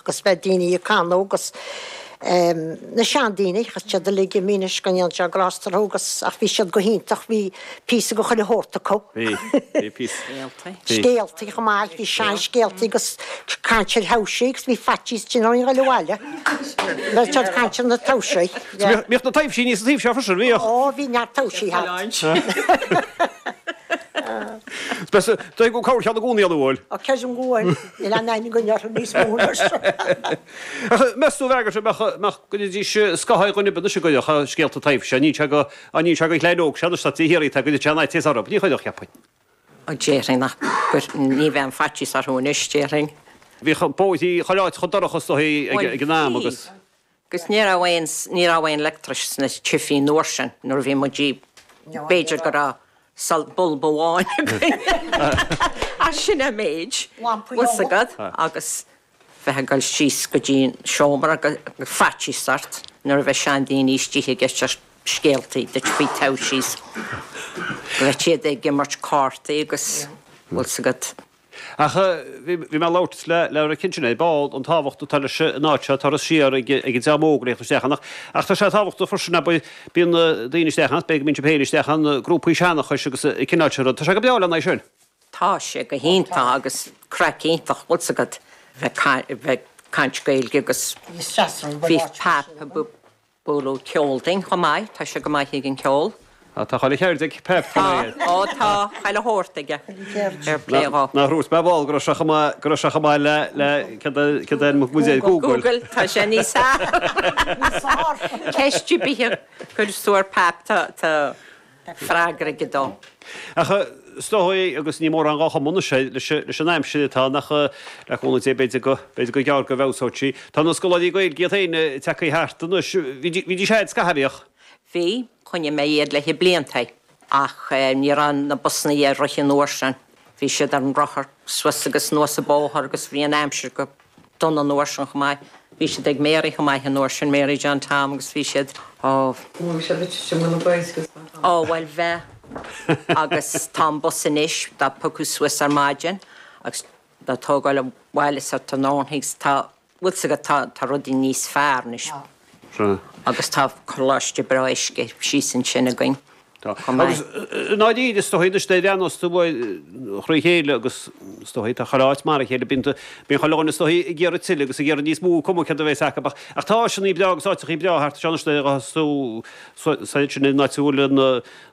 Agus bheadh daoine ag canadh agus na seandaoine, agus siad uilig imithe anois go ndéana Dia grásta orthu agus ach bhí siad go hiontach, bhí píosa de chuile shórt acu. Bhí, bhí píosa. Scéaltaí. Scéaltaí chomh maith, bhí seanscéaltaí agus caint ar thaibhsí agus bhí faitíos ansin orainn a ghoil abhaile. Bheadh siad ag caint ar na taibhsí. Bhíodh na taibhsí níos an taobh seo freisin, bhíodh. Ó, bhí neart taibhsí thart. Dóigh go cabhair cheann i gcónaí ann, an bhfuil? Ó, creidim go bhfuil. Níl aon aithne againn orthu níos mó anois. Ach meas tú, a Mhargaret, mbeadh, go gcuirfidís scáth ar dhuine ar bith anois a gcuirfeadh scéalta taibhse, ní sé go, ní sé go chlann óg sé anois tá de shíoraí atá go dtiteadh an fhaitíos orthu, ní chuirfeadh, cheapfainn. Ó, déarfainn nach, ní bheadh an faitíos orthu anois, déarfainn. Bhíodh bóithrí chuile áit chomh dorcha is dóigh ag an am agus. Agus ní raibh aon, ní raibh aon leictreachas sna tithe an uair sin, nuair a bhí muid, b'fhéidir go raibh bulb amháin againn ach sin an méid, bhfuil 's agat, agus bheith ag dul síos go dtí an seomra agus faitíos ort nuair a bheadh seandaoine istigh ag éisteacht scéaltaí duit faoi taibhsí 's go raibh siad ag imirt cártaí agus bhfuil 's agat. Ach bhí mé ag labhairt le le Rick ansin ar ball, an tábhacht atá leis an áit seo, turas siar ag an dream óg a theacht isteach ann. Ach tá sé tábhachtach freisin, abair, bíonn daoine isteach ann, b'fhéidir go mbíonn sibh féin isteach ann, grúpaí seanchais agus an cineál sin rud. Tá sé go breá lena aghaidh sin. Tá sé go hiontach agus craic iontach, bhfuil 's agat, bheith bheith ag caint Gaeilge agus bhí Pap Bualadh ceol dúinn chomh maith, tá sé go maith ag an ceol. Á, tá chuile cheird ag Pep, tá mé. Tá, ó tá, chuile shórt aige, fair play dhó. Nach ndúirt mé ar ball go raibh sé chomh maith, go raibh sé chomh maith le, le, céard é, céard é an muid Google. Google, tá sé níos fearr. Níos fearr. Ceist ar bith a chuireas tú ar Pap, tá, tá. freagra aige dó. Ach is dóigh, agus ní mórán dhá chuma anois é, leis an aimsir atá ann, ach le cúnamh Dé b'fhéidir go, b'fhéidir gur gearr go bhfeabhsóidh sí. Tá na scoláirí Gaeilge iad féin tagtha thart anois. Bhídís a'd scaitheamh, bhíodh? Bhí, choinnigh mé iad le blianta, ach ní raibh na busannaí ag rith an uair sin. Bhí siad ar an rothar suas agus anuas an bóthar agus bhí an aimsir go dona an uair sin chomh maith. Bhí siad ag Mary chomh maith an uair sin, Mary John Tom agus bhí siad, ó. Bhí siad ag titim go na boys agus. Ó, bhuel bheadh. Agus tá an bus anois dá piocadh suas ar maidin agus dá tógáil abhaile sa tráthnóna agus tá, bhfuil 's agat, tá, tá rudaí níos fearr anois. Sea. Agus tá coláiste breá uisce síos ansin againn. Tá. Agus i ndáiríre, is dóigh anois, nuair a bhreathnós tú thrí chéile agus is dóigh tá chuile áit mar a chéile, bíonn bíonn chuile dhuine is dóigh ag iarraidh tuilleadh agus ag iarraidh níos mó, cuma céard a bheas acu. Ach tá áiseanna breá agus áiteachaí breá thart anseo anois nuair a ghabhfas tú soir sin an áit a bhfuil an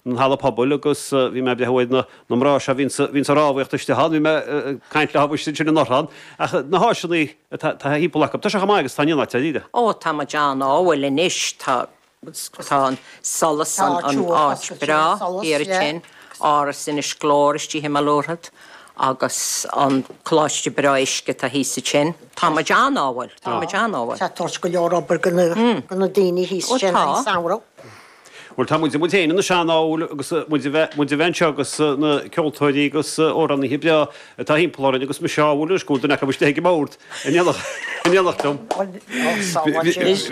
an halla pobail agus bhí mé ag breathnú ar na na mná seo a bhíonns bhíonns ag rámhaíocht istigh ann, bhí mé ag caint leo istigh ansin anuraidh ann. Ach na háiseanna atá thimpeall acu, tá sé chomh maith agus atá in aon áit, dáiríre. Ó, tá muid an-ádhúil anois, tá Tá an solas, an áit breá thiar ansin, Áras Inis Glór istigh i mBaile Luathraid agus an coláiste breá uisce atá thíos ansin. Tá muid an-ádhúil, tá muid an-ádhúil. Tá tabhairt go leor obair go na daoine thíos ansin an samhradh. Bhuel, tá muid, muid féin anois an-ádhúil agus muid a bheith, muid a bheith anseo agus na ceoltóirí agus amhránaithe breá atá thimpeall orainn agus mise ádhúil anois go bhfuil duine acu istigh ag an mbord. In éineacht liom.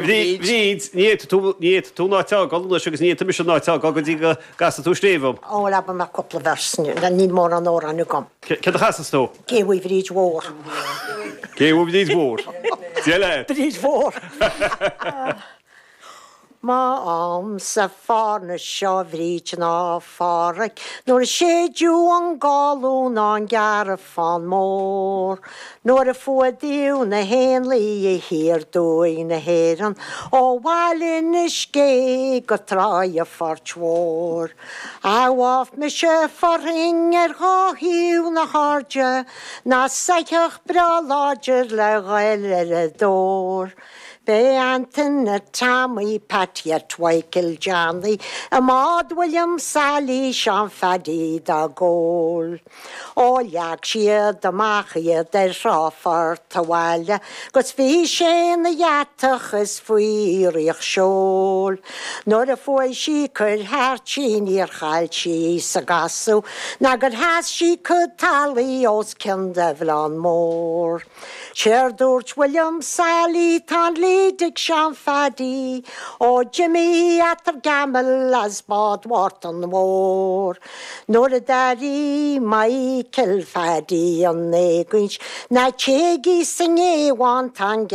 Bríd, ní fhéadfaidh tú, ní fhéadfaidh tú an áit a fhágáil anois agus ní fhéadfaidh mise an áit a fhágáil go dtí go gcasfaidh tú scríobh dom. Ó, bhuel, abair mé cúpla verse, níl mórán amhráin agam. Céard a chasfas tú? Gé uaidh Bhríd Mhór. Gé uaidh Bhríd Mhór. Dia leat. Bríd Mhór. M'amsa fárna seo Bhríd ná Pháraic nuair a séideadh an gálún ná an gearrfán mór nuair a fuadaíodh na héanlaithe thiar aduaidh na hÉireann ó Bhaile Inis Gé go Tráigh a' Phoirt Mhóir. Adhmháth mise fearthainn ar dhá thaobh na hairde ná soitheach breá láidir le ghoil ar a dtóir. B'é Antaine Tommy, Pat Yett Mhichael Johnny, i mbád William Sailí, Seán Pheaidí dá gcól. Ó leag siad amach iad ar thrá Phort a' Bhaile 'gus bhí sé 'na dheatach is faoi fhraoch seoil. Nuair a fuaigh sí cuir thart sí níor chaill sí sa gcasadh ná gur sheas sí cuid talaigh os cionn de bhleán mór. Séard dúirt William Sailí, tá an lead ag Seán Pheaidí, ó. Jimmy Arthur Gamble as Bád Mhártain Mhóir. Nuair a d'airigh Michael Phaddy an éagaoint, Ná téigí sa ngéabhán, tá an.